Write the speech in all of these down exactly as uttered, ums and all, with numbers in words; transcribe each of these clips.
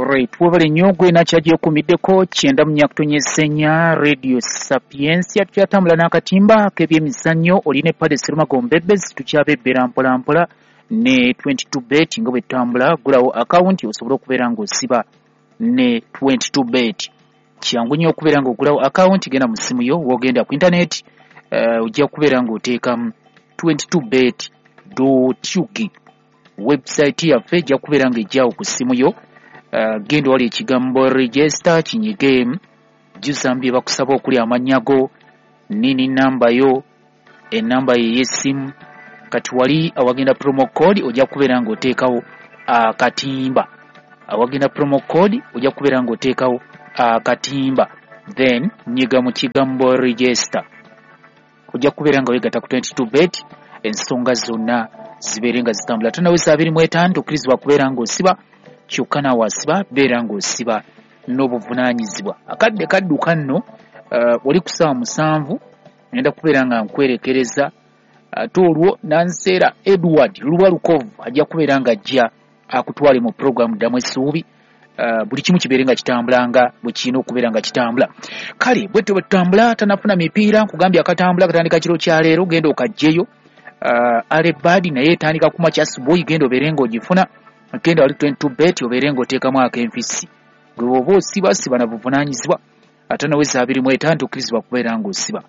Alright, webale nnyo gwe nakyagyekuumiddeko kyenda mu nnya kutonnyeza ennya Radio Sapientia. Tukyatambula n'akatimba k'ebyemizannyo, oli ne Pade Serumago Mbebezi, tukyabebbera mpola mpola ne twenty-two bet nga bwe tutambula. Gulawo akawunti osobole okubeera ng'osiba ne twenty-two bet. Kyangu nnyo okubeera ng'ogulawo akawunti, genda mu ssimu yo, w'ogenda ku internet, uh, ojja kubeera ng'oteekamu twenty-two bet dot ug. Website yaffe ejja kubeera ng'ejjawo ku ssimu yo. Uh, genda wali ekigambo register kinyige, jjuza bye bakusaba okuli amannya go, nini namba yo, enamba ye y'essimu. Kati wali awagenda promo code ojja kubeera ng'oteekawo akatimba. Awagenda promo code ojja kubeera ng'oteekawo akatimba, then nyiga mu kigambo register, ojja kubeera nga weegatta ku twenty-two bet, ensonga zonna zibeere nga zitambula. Tonaweza abiri mu etaano tokkirizibwa kubeera ng'osiba, kyokka naawe asiba beera ng'osiba n'obuvunaanyizibwa. Akadde kadduka nno, uh, oli ku ssaawa musanvu ngenda kubeera nga nkwerekereza, ate olwo Nanseera Edward Lubalukov ajja kubeera ng'ajja akutwale mu puroguramu Ddamu Essuubi. Uh, buli kimu kibeere nga kitambula nga bwe kirina okubeera nga kitambula. Kale bwetyo bwe tutambula, tanafuna mipiira, nkugambye akatambula katandika kiro kya leero, genda okaggyeyo. Uh, Alebad naye etandika ku makya asubuhi, genda obeere ng'ogifuna. Genda wali twenty-two bet obeere ng'oteekamu ak'enfisi. Gwe bw'oba osiba siba na buvunaanyizibwa, ate naweza abiri mu etaano tokkirizibwa kubeera ng'osiba.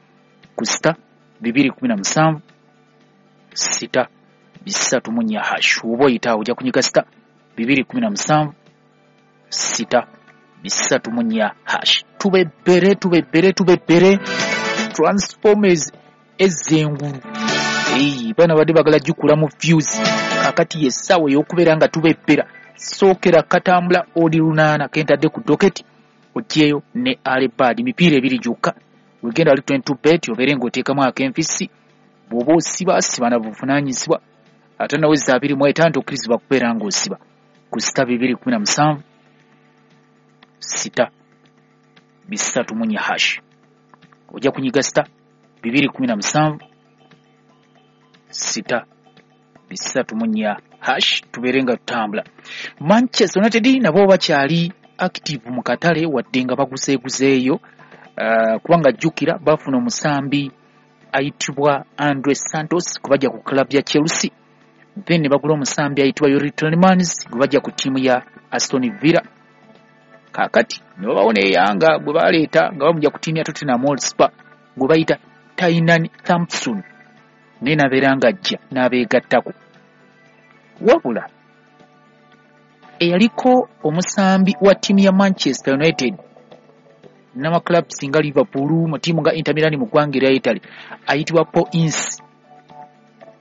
Ku sita bibiri kumi na musanvu sita bisatu mu nnya hash, oba oyita awo ojja kunyiga sita bibiri kumi na musanvu sita bisatu mu nnya hash. Tubebbere tubebbere tubebbere Transformers ez'engulu. Eyi, bana badde bagala gikula mu views, kakati y'essaawa ey'okubeera nga tubebbera. Sookera katambula oli lunaana kentadde ku doketi, oggyeyo ne Alebad, mipiira ebiri gyokka. Wegenda wali twenty-two bet obeere ng'oteekamu ak'enfisi. Bw'oba osiba siba na buvunaanyizibwa, ate naweza abiri mu etaano tokkirizibwa kubeera ng'osiba. Ku sita bibiri kumi na musanvu sita bisatu mu nnya hash, ojja kunyiga sita bibiri kumi na musanvu sita bisatu mu nnya hash, tubeere nga tutambula. Manchester United nabo bakyali active mu katale wadde nga baguzeeguzeeyo, uh, kubanga jjukira bafuna omusambi ayitibwa Andre Santos gwe bajja ku club ya Chelsea, then ne bagula omusambi ayitibwa Youri Tielemans gwe bajja ku ttiimu ya Aston Villa. Kaakati ne babawo n'eyanga gwe baleeta nga bamujja ku ttiimu ya Tottenham Hotspur gwe bayita Tynan Thompson, naye n'abeera ng'ajja n'abeegattako. Wabula eyaliko omusambi wa ttiimu ya Manchester United n'amaclubs nga Liverpool, mu ttiimu nga Inter Milan mu ggwanga erya Italy, ayitibwa Paul Ince,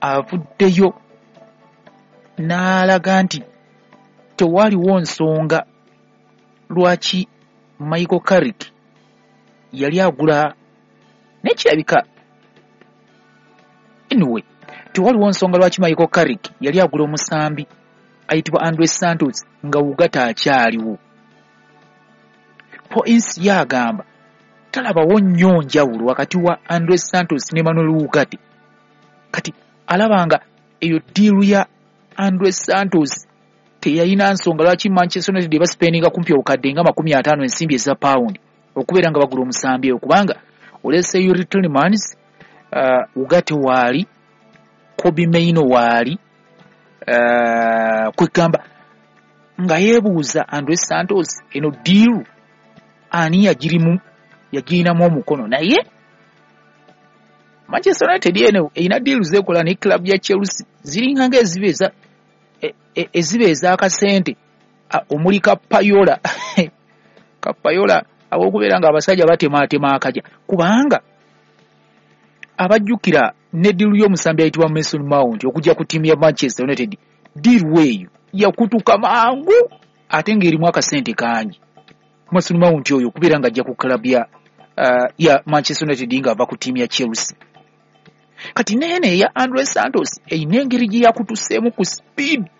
avuddeyo n'alaga nti tewaliwo nsonga lwaki Michael Carrick yali agula, naye kirabika anyway tewaliwo nsonga lwaki Michael Carrick yali agula omusambi ayitibwa Andre Santos nga Ugarte akyaliwo. Paul Ince yagamba talabawo nnyo njawulo wakati wa Andre Santos ne Manuel Ugarte. Kati alaba nga eyo ddiiru ya Andre Santos teyalina nsonga lwaki Manchester United basipendinga kumpi obukadde nga makumi ataano ensimbi eza pawundi okubeera nga bagula omusambi eyo, kubanga olese Youri Tielemans, uh, Ugarte waali, Kobbie Mainoo waali, uh, kwegamba nga yeebuuza Andre Santos eno ddiiru ani yagirimu yagirinamu omukono. Naye Manchester United eno erina ddiiru zeekola ne club ya Chelsea ziringa ng'eziba eza eziba ez'akasente omuli kapayola kapayola ab'okubeera nga abasajja batemaatema akaja, kubanga abajjukira ne ddiiru y'omusambi ayitibwa Mason Mount okujja ku ttiimu ya Manchester United, ddiiru eyo yakutuka mangu ate ng'erimu akasente kangi. Mason Mount oyo okubeera ng'ajja ku club ya, uh, ya Manchester United ng'ava ku ttiimu ya Chelsea. Kati neene eya Andre Santos erina engeri gye yakutuseemu ku speed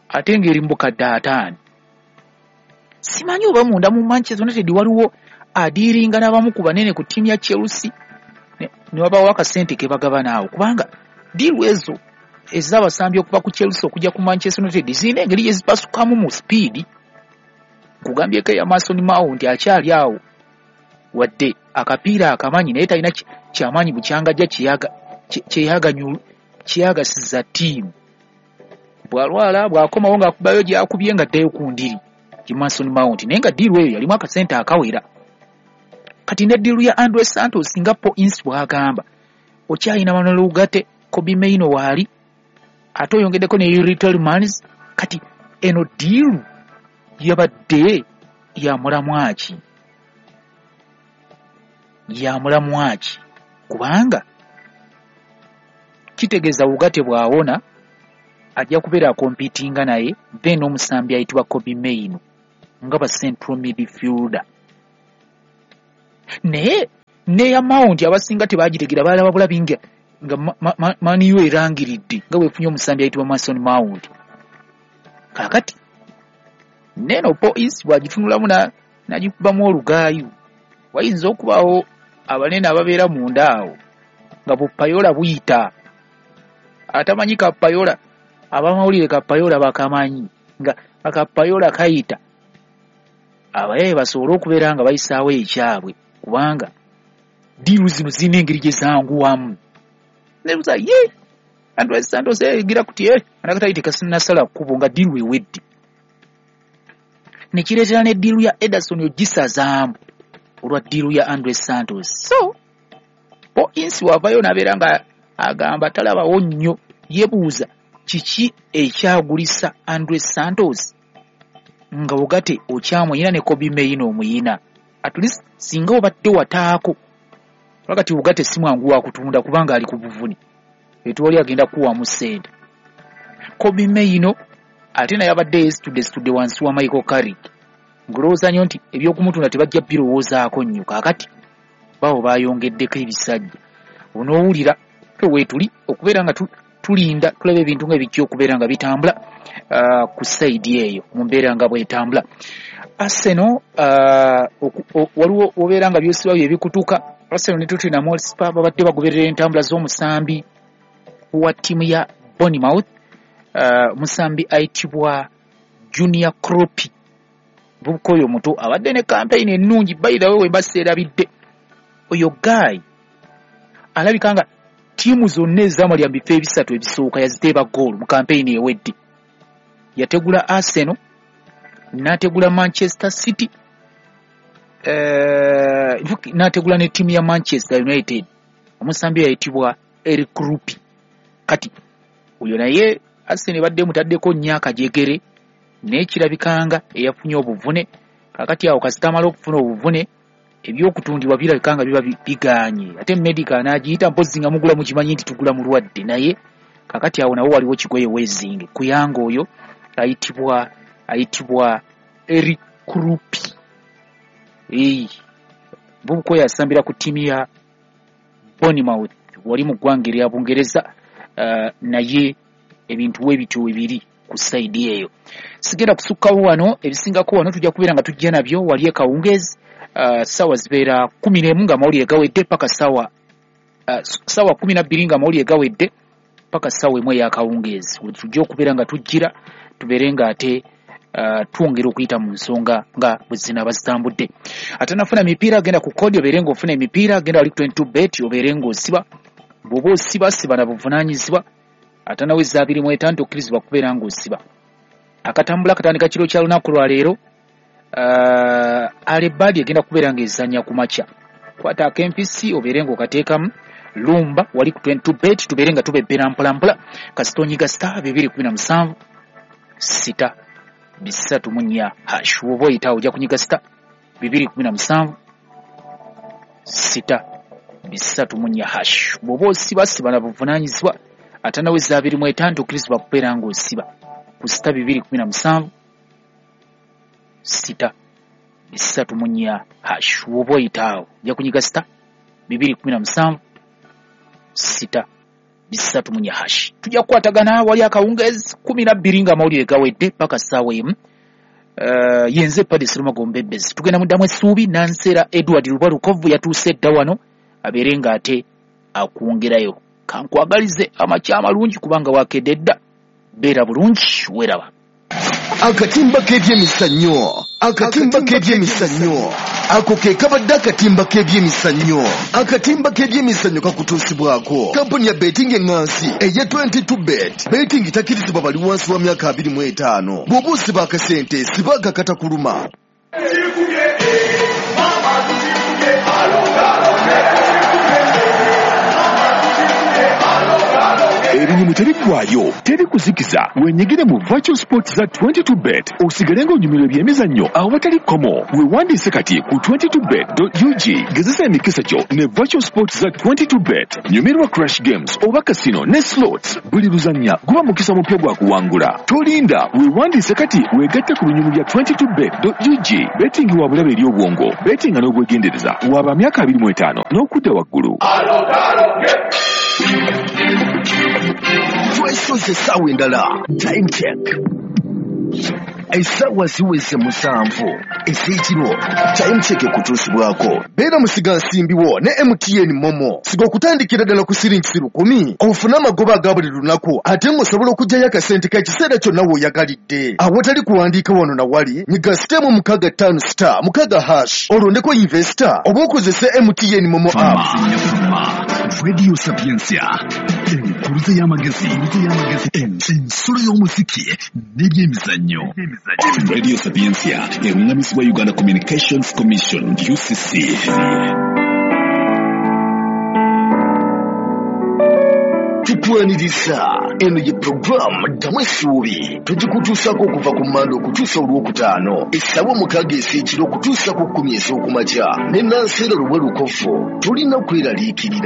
ate ng'eri mu bukadde ataano. Simanyi oba munda mu Manchester United waliwo adiiringa n'abamu ku banene ku ttiimu ya Chelsea ne wabawo akasente ke bagabana awo, kubanga ddiiru ezo ez'abasambi okuva ku Chelsea okujja ku Manchester United zirina engeri gye zipasukamu mu speed. Kugambyeko eya Mason Mount akyali awo, wadde akapiira akamanyi naye talina kyamaanyi bukyangajja kyeyagasiza ttiimu. Bw'alwala bw'akomawo ng'akubayo gy'akubye ng'addayo ku ndiri gye Mason Mount, naye nga ddiiru eyo yalimu akasente akawera. Kati ne ddiiru ya Andre Santos nga Paul Ince bw'agamba, okyalina Manuel Ugarte, Kobbie Mainoo waali, ate oyongeddeko ne Youri Tielemans. Kati eno ddiiru yabadde ya mulamwa ki? Ya mulamwa ki? Kubanga kitegeeza Ugarte bw'awona ajja kubeera akompitinga naye, then omusambi ayitibwa Kobbie Mainoo nga ba central midfielder. Naye neya Mount abasinga tebagitegera, balaba bulabi nga nga Man U erangiridde nga bwefunye omusambi ayitibwa Mason Mount. Kaakati neno Paul Ince bw'agitunulamu n'agikubamu olugaayu, wayinza okubaawo abanene ababeera munda awo nga bupayola buyita. Atamanyi kapayola, abamawulire kapayola bakamanyi nga akapayola kayita, abayaye basobole okubeera nga bayisaawo ekyabwe, kubanga ddiiru zino zirina engeri gye zanguwamu. Nebuuza ye Andre Santos egira kuti eh anakatali tekasinasala kkubo nga ddiiru ewedde. Ne kireetera ne ddiiru ya Ederson ogisazaamu olwa ddiiru ya Andre Santos. So Paul Ince wavayo n'abeera nga agamba talabawo nnyo, yeebuuza kiki ekyagulisa Andre Santos nga Ugarte okyamuyina ne Kobbie Mainoo omuyina. At least singa obadde wataako, wakati Ugarte si mwangu wa kutunda kubanga ali ku buvune, etwali agenda kuwamu ssente. Kobbie Mainoo ate naye abadde yeesitudde situdde wansi wa Michael Carrick, ng'olowooza nnyo nti ebyokumutunda tebajja birowoozaako nnyo. Kaakati bawo baayongeddeko ebisajja, onoowulira ffe weetuli okubeera nga tulinda tulaba ebintu nga ebijja okubeera nga bitambula uh, ku sayidi eyo mu mbeera nga bwetambula. Arsenal uh, waliwo obeera nga byosiba bye bikutuka. Arsenal ne Tottenham Hotspur babadde bagoberera entambula z'omusambi wa ttiimu ya Bournemouth, uh, musambi ayitibwa Junior Kroupi. Muvubuka oyo muto abadde ne campaign ennungi, by the way we mbaseerabidde, oyo guy alabika nga ttiimu zonna ezaamalya mu bifo ebisatu ebisooka yaziteeba ggoolo mu campaign ewedde. Yategula Arsenal, n'ategula Manchester City, uh, n'ategula ne ttiimu ya Manchester United. Omusambi ayitibwa Eric Kroupi. Kati oyo naye Arsenal ebadde emutaddeko nnyo akajegere, naye kirabikanga eyafunye obuvune. Kaakati awo kasita amala okufuna obuvune, ebyokutundibwa birabika nga biba bigaanye, ate medical n'agiyita mpozzi nga mugula mukimanyi nti tugula mulwadde. Naye kaakati awo nawo waliwo kigoye weezinge kuyanga oyo ayitibwa ayitibwa Eric Kroupi. Eyi muvubuka oyo asambira ku ttiimu ya Bournemouth wali mu ggwanga erya Bungereza, uh, naye ebintu we bityo webiri ku sayidi eyo. Sigenda kusukkawo wano, ebisingako wano tujja kubeera nga tujja nabyo wali e Kawungeezi. Uh, ssaawa zibeera kumi n'emu nga amawulire gawedde paka ssaawa uh, ssaawa kumi na bbiri nga amawulire gawedde paka ssaawa emu ey'akawungeezi. Tujja okubeera nga tujjira tubeere nga ate uh, twongera okuyita mu nsonga nga bwe zinaaba zitambudde. Ate nafuna emipiira, genda ku kodi obeere ng'ofuna emipiira, genda wali ku twenty-two bet obeere ng'osiba. Bw'oba osiba siba na buvunaanyizibwa, ate nawe eza abiri mu etaano tokkirizibwa kubeera ng'osiba. Akatambula katandika kiro kya lunaku lwa leero. Uh, Alebadi egenda kubeera ng'ezannya ku makya. Kwata ak'empisi obeere ng'okateekamu lumba wali ku twenty-two bet, tubeere nga tubebbera mpolampola. Kasita onyiga star bibiri kumi na musanvu sita bisatu mu nnya hash, woba oyita ojja kunyiga star bibiri kumi na musanvu sita bisatu mu nnya hash. Bw'oba osiba siba na buvunaanyizibwa, ate nawe eza abiri mu etaano tokkirizibwa kubeera ng'osiba ku sita bibiri kumi na musanvu sita bisatu mu nnya hash, woba oyita awo ojja kunyiga sita bibiri kumi na musanvu sita bisatu mu nnya hash. Tujja kukwatagana wali akawungeezi kumi na bbiri nga amawulire gawedde paka ssaawa emu. Uh, yenze Paddy Sserumago Mbebezi. Tugenda muddamu essuubi. Nanseera Edward Lubalukovu yatuuse edda wano abeere ng'ate akwongerayo. Kankwagalize amakya amalungi kubanga wakedde dda. Beera bulungi, weeraba. Akatimba k'ebyemizannyo. Akatimba k'ebyemizannyo ako ke kabadde akatimba k'ebyemizannyo. Akatimba k'ebyemizannyo kakutuusibwako kampuni ya betting eŋŋansi eya twenty-two bet. Betting takkirizibwa bali wansi wa myaka abiri mu etaano. Bw'oba osiba akasente siba akakatakuluma. Ebinyumu tebiggwayo, teri kuzikiza. Wenyigire mu virtual sports za twenty-two bet osigale ng'onyumirwa ebyemizannyo awatali kkomo. Weewandiise kati ku twenty-two bet dot U G. Gezesa emikisa gyo ne virtual sports za twenty-two bet. Nyumirwa crash games oba casino ne slots. Buli luzannya guba mukisa mupya gwa kuwangula. Tolinda, weewandiise kati weegatte ku binyumu bya twenty-two bet dot U G. Betting wa bulabe eri obwongo, bettinga n'obwegendereza. Waba myaka abiri mu etaano n'okudda waggulu. Twesoze essaawa endala. Time check. Essaawa ziweze musanvu ez'ekiro. Time check ekutuusibwako. Beera musigansimbi wo ne M T N Momo. Siga okutandikira ddala ku siringi lukumi ofune amagoba aga buli lunaku, ate ng'osobola okuggyayo akasente k'ekiseera kyonna w'oyagalidde. Awatali kuwandiika wano na wali, nyiga sitemu mukaaga ttaano star mukaaga hash olondeko investor oba okozese M T N Momo app. Radio Sapientia, enkuruze y'amagezi, ensolo y'omuziki n'ebyemizannyo. Radio Sapientia eruŋŋamizibwa Uganda Communications Commission U C C. Tukwaniriza eno ye puroguramu Ddamu Essuubi. Tugikutuusaako okuva ku Mmande okutuusa Olwokutaano essaawa mukaaga ez'ekiro okutuusa ku kkumi ez'okumakya ne Nanseera Luwe Lukofu. Tulina kweraliikirira.